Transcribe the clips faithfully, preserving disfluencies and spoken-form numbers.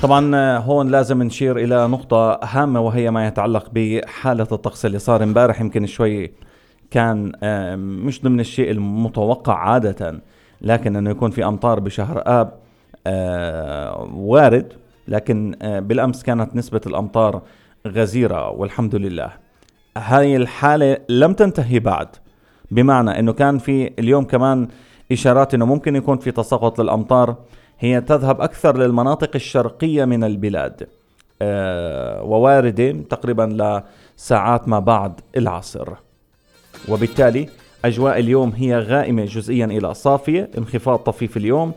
طبعا هون لازم نشير إلى نقطة هامة، وهي ما يتعلق بحالة الطقس اللي صار امبارح. يمكن شوي كان مش ضمن الشيء المتوقع عادة، لكن أنه يكون في أمطار بشهر آب وارد، لكن بالأمس كانت نسبة الأمطار غزيرة والحمد لله. هاي الحالة لم تنتهي بعد، بمعنى أنه كان في اليوم كمان إشارات أنه ممكن يكون في تساقط للأمطار، هي تذهب أكثر للمناطق الشرقية من البلاد أه وواردة تقريبا لساعات ما بعد العصر، وبالتالي أجواء اليوم هي غائمة جزئيا إلى صافية، انخفاض طفيف اليوم،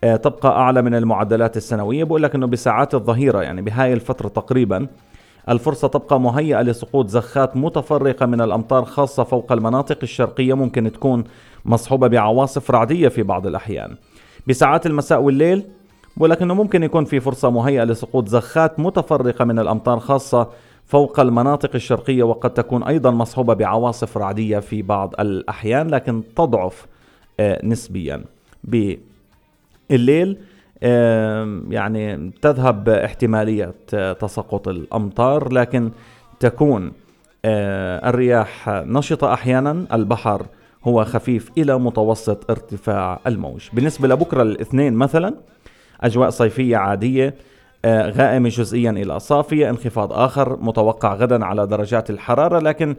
أه تبقى أعلى من المعدلات السنوية. بقول لك أنه بساعات الظهيرة يعني بهاي الفترة تقريبا الفرصة تبقى مهيئة لسقوط زخات متفرقة من الأمطار، خاصة فوق المناطق الشرقية، ممكن تكون مصحوبة بعواصف رعدية في بعض الأحيان. بساعات المساء والليل بقول لك أنه ممكن يكون في فرصة مهيئة لسقوط زخات متفرقة من الأمطار، خاصة فوق المناطق الشرقية، وقد تكون أيضا مصحوبة بعواصف رعدية في بعض الأحيان، لكن تضعف آه نسبيا. بالليل آه يعني تذهب احتمالية آه تساقط الأمطار، لكن تكون آه الرياح نشطة أحيانا، البحر هو خفيف إلى متوسط ارتفاع الموج. بالنسبة لبكرة الاثنين مثلا أجواء صيفية عادية، آه غائمة جزئيا إلى صافية، انخفاض آخر متوقع غدا على درجات الحرارة، لكن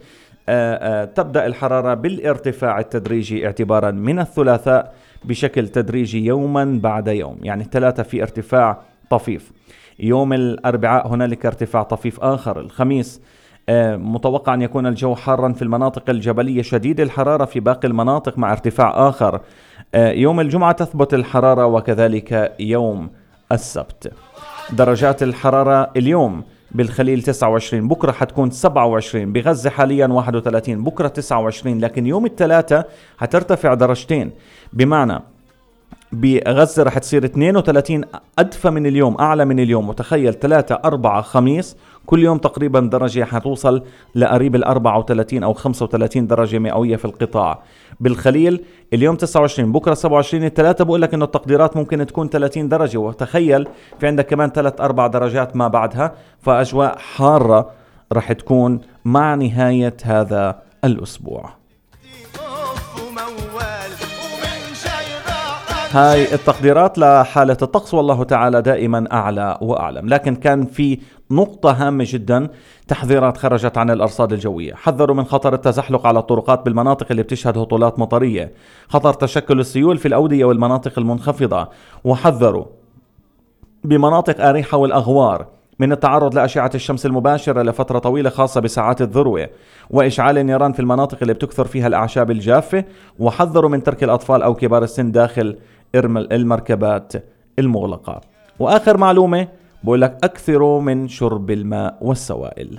آه آه تبدأ الحرارة بالارتفاع التدريجي اعتبارا من الثلاثاء بشكل تدريجي يوما بعد يوم. يعني الثلاثة في ارتفاع طفيف، يوم الأربعاء هنالك ارتفاع طفيف آخر، الخميس آه متوقع أن يكون الجو حارا في المناطق الجبلية، شديد الحرارة في باقي المناطق مع ارتفاع آخر. آه يوم الجمعة تثبت الحرارة، وكذلك يوم السبت. درجات الحرارة اليوم بالخليل تسعة وعشرين، بكرة حتكون سبعة وعشرين، بغزة حاليا واحد وثلاثين، بكرة تسعة وعشرين، لكن يوم الثلاثة هترتفع درجتين، بمعنى بغزة رح تصير اثنين وثلاثين، أدفى من اليوم، أعلى من اليوم. وتخيل ثلاثة أربعة خميس كل يوم تقريبا درجة حتوصل لقريب الأربعة وثلاثين أو خمسة وثلاثين درجة مئوية في القطاع. بالخليل اليوم تسعة وعشرين، بكرة سبعة وعشرين، الثلاثة بقول لك إنه التقديرات ممكن تكون ثلاثين درجة، وتخيل في عندك كمان ثلاث أربع درجات ما بعدها، فأجواء حارة رح تكون مع نهاية هذا الأسبوع. هاي التقديرات لحالة الطقس، والله تعالى دائما أعلى وأعلم. لكن كان في نقطة هامة جدا، تحذيرات خرجت عن الأرصاد الجوية، حذروا من خطر التزحلق على الطرقات بالمناطق اللي بتشهد هطولات مطرية، خطر تشكل السيول في الأودية والمناطق المنخفضة، وحذروا بمناطق آريحة والأغوار من التعرض لأشعة الشمس المباشرة لفترة طويلة، خاصة بساعات الذروة، وإشعال النيران في المناطق اللي بتكثر فيها الأعشاب الجافة، وحذروا من ترك الأطفال أو كبار السن داخل المركبات المغلقة. وآخر معلومة بقول لك أكثروا من شرب الماء والسوائل.